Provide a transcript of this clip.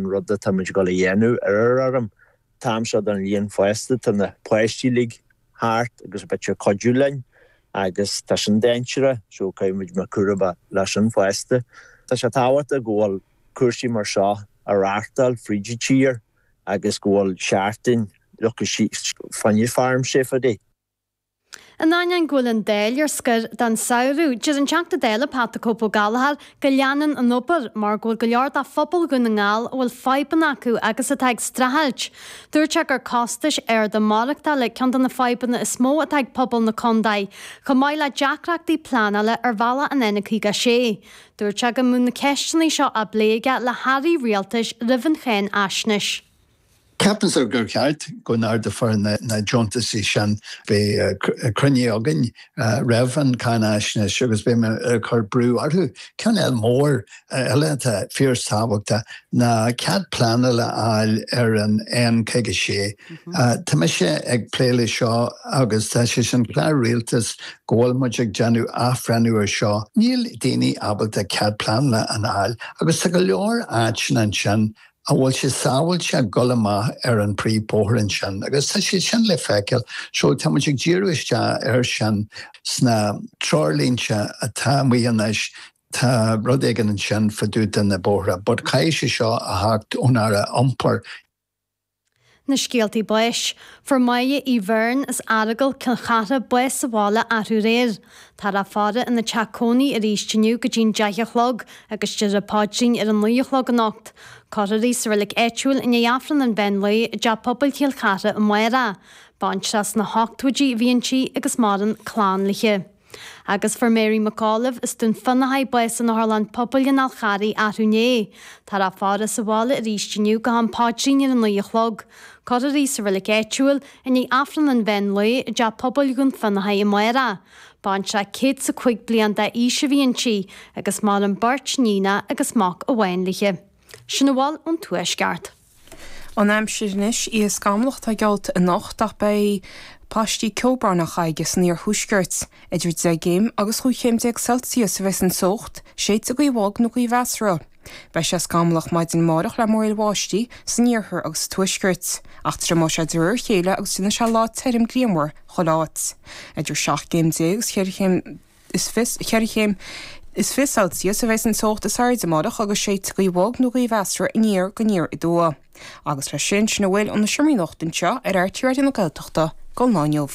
an rud atá muid ag dul a dhéanamh ar ár bhfeirm. An t-am seo den bhliain fosta tá na páistí uilig thart agus b'fhéidir ag cuidiú linn agus tá sin dainséarach so caithfidh muid bheith cúramach leis sin fosta. Tá sé tábhachtach go bhfuil cúrsaí mar seo á reáchtáil fríd an tír agus go bhfuil seachtain fá choinne farm safety. In ainneoin go bhfuil an Dáil ar scor don samhradh, deir an Teachta Dála Pat 'The Cope' Ó Gallchóir go leanann an obair mar go bhfuil go leor de phobal Dhún na nGall a bhfuil fadhbanna acu agus atá ag streachailt. Dúirt sé gur costais arda maireachtála ceann de na fadhbanna is mó atá ag pobal na contae, chomh maith le deacrachtaí pleanála ar bhealach an N56. Dúirt sé go mbeadh na ceisteanna seo á bplé aige le hairí rialtais roimh an cháinfhaisnéis. Ceapaimse gur cheart go n-ardófar na deontaisí sin. Beidh cruinniú againn roimh an cháinfhaisnéis agus beidh mé ag cur brú orthu. Ceann eile mór eile atá fíorthábhachtach ná cead pleanála a fháil ar an N56. Tá mise ag plé le seo agus tá sé san chlár rialtais go bhfuil muid ag déanamh athbhreithniú ar seo. Níl daoine ábalta cead pleanála a fháil agus tá go leor áiteanna ansin a bhfuil sé sábháilte dul amach ar an príomhbhóthar ansin agus tá sé sin le feiceáil so tá muid ag díriú isteach air sin sna treoirlínte atá amuigh anois tá rud éigin ansin fá dtaobh de na bóithre but caithfidh sé seo a theacht ón Aire Iompair. Na scéaltaí báis. Fuair Máire Uí Bheirn as Earagail, Cill Chartha, bás sa bhaile arú aréir. Táthar á faire ina teach cónaí arís inniu go dtí'n 10 a chlog agus déarfar paidrín ar a 9 a chlog anocht. Cuirfear í sa reilig áitiúil i ndiaidh Aifreann an mheán lae i dTeach Pobail Chill Chartha amárach. Baintreach sna hochtóidí a bhí inti agus maireann clann léi. Agus fuair Mary McAuliffe as Dún Fionnachaidh bás in Otharlann Pobail an Fháil Charraigh arú inné. Táthar á faire sa bhaile arís inniu go ham paidrín ar a 9 a chlog. Cuirfear í sa reilig áitiúil i ndiaidh Aifreann an mheán lae i dTeach Pobail Dhún Fionnachaidh amárach. Baintreach 105 bliain d'aois a bhí inti agus maireann beirt níonacha agus mac amháin léi. Sin a bhfuil ón Tuaisceart. An aimsir anois, oíche scamallach atá geallta anocht ach beidh paistí ceobhráin á chaitheamh aige san iarthuaisceart. Idir 10 gcéim agus 15 chéim Celsius a bheas an teocht, séidfidh gaoth bhog nó gaoth mheasartha. Beidh sé scamallach maidin amárach le múraíl bháistí san iarthar agus sa tuaisceart, ach triomóidh sé de réir a chéile agus déanfaidh sé lá tirim grianmhar chuile áit. Idir 17 gcéim agus 14 chéim. is 4 chéim is 20 Celsius a bheas an teocht is airde amárach agus séidfidh gaoth bhog nó gaoth mheasartha aniar go aniar aduaidh. Agus leis sin, sin a bhfuil ó na seomraí nuachta anseo ar RTÉ Raidió na Gaeltachta don lá inniu.